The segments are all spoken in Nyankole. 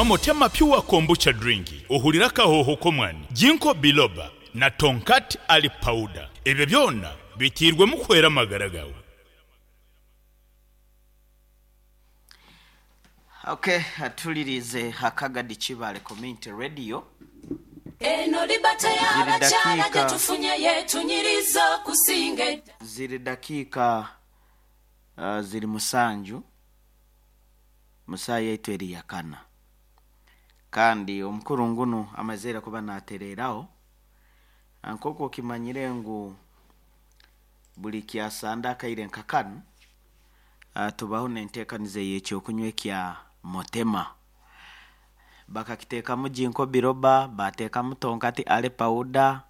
Motema Pure Kombucha Drink, ohurire akahooho k'omwani, Ginkgo Biloba na Tongkat Ali Powder. Ebyo byona biteirwemu kuhwera amagara gaawe. Ok tuliriize Hakagadi Kibaale Community Radio. Eno Liberty Ziri y'abakyala dakiika. gyetufunye yetunyiriza okusinga edda. Ziri dakiika ziri musanju mu saaha yaitu eri yakana. Kandi omukuru ngunu amazire kuba natereeraho nk'oku okimanyire ngu buri kyasande akaire nka kanu tubaho n'enteekaniza ey'ekyokunywa ekya Motema. Bakakiteekamu Ginkgo Biloba, baateekamu Tonkati Ale Powder,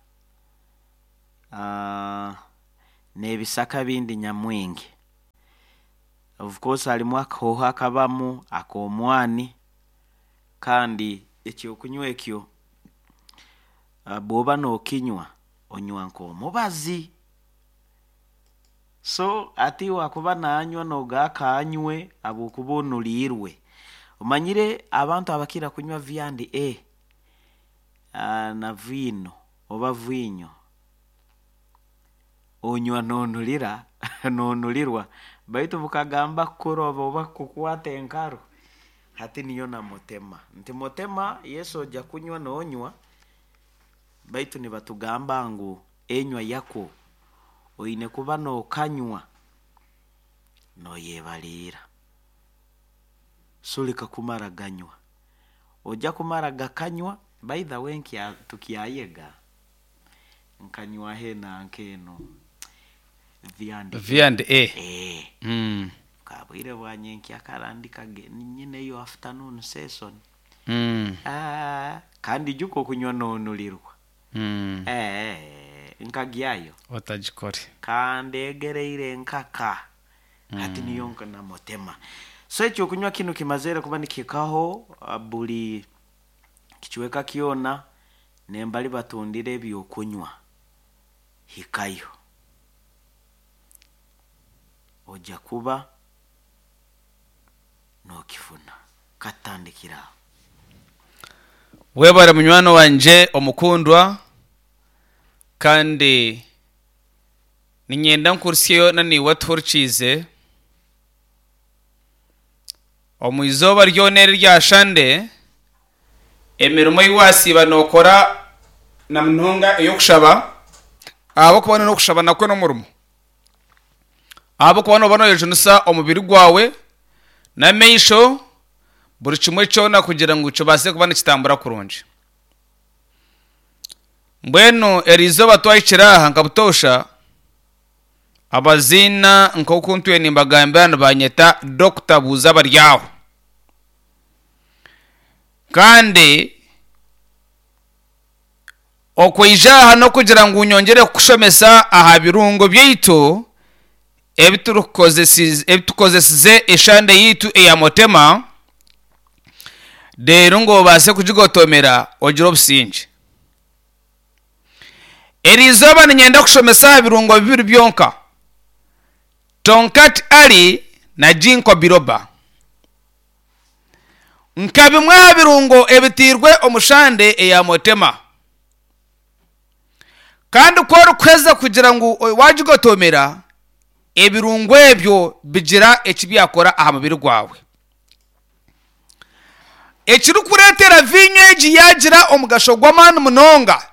n'ebisaka ebindi nyamwingi. Of course harimu akahooho akabamu ak'omwani kandi ekyokunywa ekyo bw'oba nookinywa, onywa nk'omubazi. So hati wakuba nanywa noga akanywe habwokuba onuriirwe. Omanyire abantu abakira kunywa V and A na viino oba viinyo, onywa nonurira nonurirwa baitu bukagamba kukuroba oba kukukwata enkaru, hati niyo na mutema. Nti mutema yes oja kunywa nonywa baitu nibatugamba ngu enywa yakwo oine kuba nookanywa nooyebariira. So reka kumara ganywa. Oja kumara gakanywa, by the way nkya tukyayega, nkanywaho enanka eno V and A. V and A. Eeh. Mm. Kabwire bwa nyenkyakara ndi kage nyineyo afternoon session. Mm. Aah, kandi ijuka okunywa noonurirwa. Mm. Eeh, nkagyayo. Otagikore. Kandegereire nkaka. Hati niyo nka namutema. So ekyokunywa kinu kimazire kuba nikihikaho buri kicweka kyona nembari batundira ebyokunywa. Hikayo. Oja kuba nokifuna. Katutandikire aho. Webare munywani wangye omukundwa kandi niinyenda nkuhurikyeyo na naiwe otuhurikiize. Omu izooba ryona eri erya Shande, emirimo ei waasiiba nookora na munonga ey'okushaba, ahabw'okuba n'okushaba nakwo n'omurimo. Ahabw'okuba nooba nooyejunisa omubiri gwawe n'amaisho, buri kimwe kyona kugira ngu kibaase kuba nikitambura kurungi. Mbwenu eri izooba twahikire aha nka butoosha, abaziina nk'oku ntwire nimbagambira nibanyeta Dokita Buuza Abaryaho. Kandi Okwija aha n'okugira ngu nyongyere kukushomesa aha birungo byaitu ebi tukozesize eshande yaitu eya Motema, reero ngu obaase kugigotomera ogire obusingye. Eri izooba niinyenda kushomesa aha birungo bibiri byonka, Tongkat Ali na Ginkgo Biloba. Nka bimwe aha birungo ebitairwe omu shande eya Motema. Kandi ku orikuheza kugira ngu waagigotomera, ebirungo ebyo bigira eki byakora aha mubiri gwawe. Ekirikureetera viinyo egi yaagira omugasho gw'amaani munonga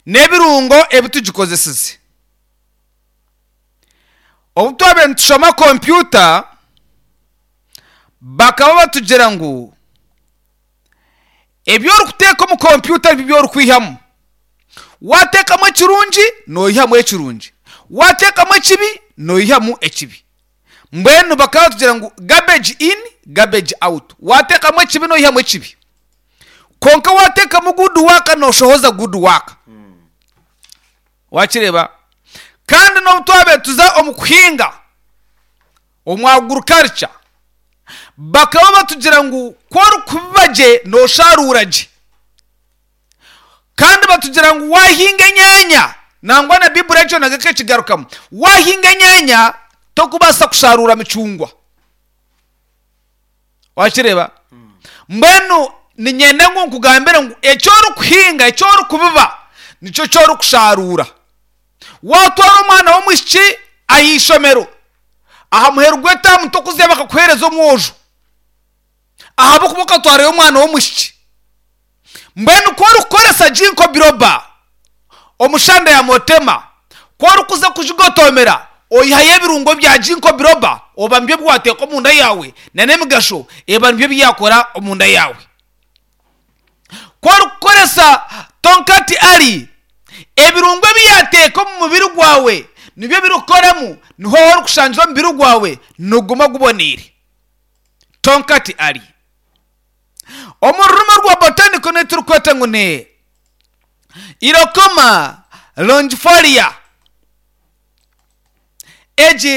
n'ebirungo ebi tugikozesize. Obu twabaire nitushoma kompyuta, bakaba batugira ngu ebi orikuteeka omu kompyuta nibyo ebi orikwihamu. Waateekamu ekirungi, noihamu ekirungi, waateekamu ekibi, noihamu ekibi. Mbwenu bakaba batugira ngu garbage in, garbage out. Waateekamu ekibi, noihamu ekibi. Kwonka waateekamu good work, nooshohoza good work. Wakireeba? Kandi n'obu twabaire tuza omu kuhinga omu agriculture, bakaba batugira ngu ku orikubiba gye noosharuura gye. Kandi batugira ngu waahinga enyaanya, nangwa na Baiburi ekyo nakyo ekekigarukamu, waahinga enyaanya torikubaasa kusharuura micungwa. Wakireeba? Mbwenu niinyenda ngu nkugambire ngu eki orikuhinga, eki orikubiba, nikyo eki orikushaaruura. Waatwara omwana w'omwishiki aha ishomero, aha muheru gw'etaamu tokuzayo bakakuheereza omwojo ahabw'okuba okatwarayo omwana w'omwishiki. Mbwenu ku orikukoresa Ginkgo biloba omu shanda ya Motema, ku orikuza kugigotoomera oihayo ebirungo bya Ginkgo biloba oba nibyo ebi waateeka omunda yaawe n'emigasho eba nibyo ebi yaakora omunda yaawe. Ku orikukoresa Tongkat Ali, ebirungo ebi yaateeka omu mubiri gwawe nibyo birikukoramu niho orikushangira omubiri gwawe niguguma guboneire. Tongkat Ali. Omu rurimi orwa botanical n'ei turikweta ngu ni Irokoma longifolia. Egi.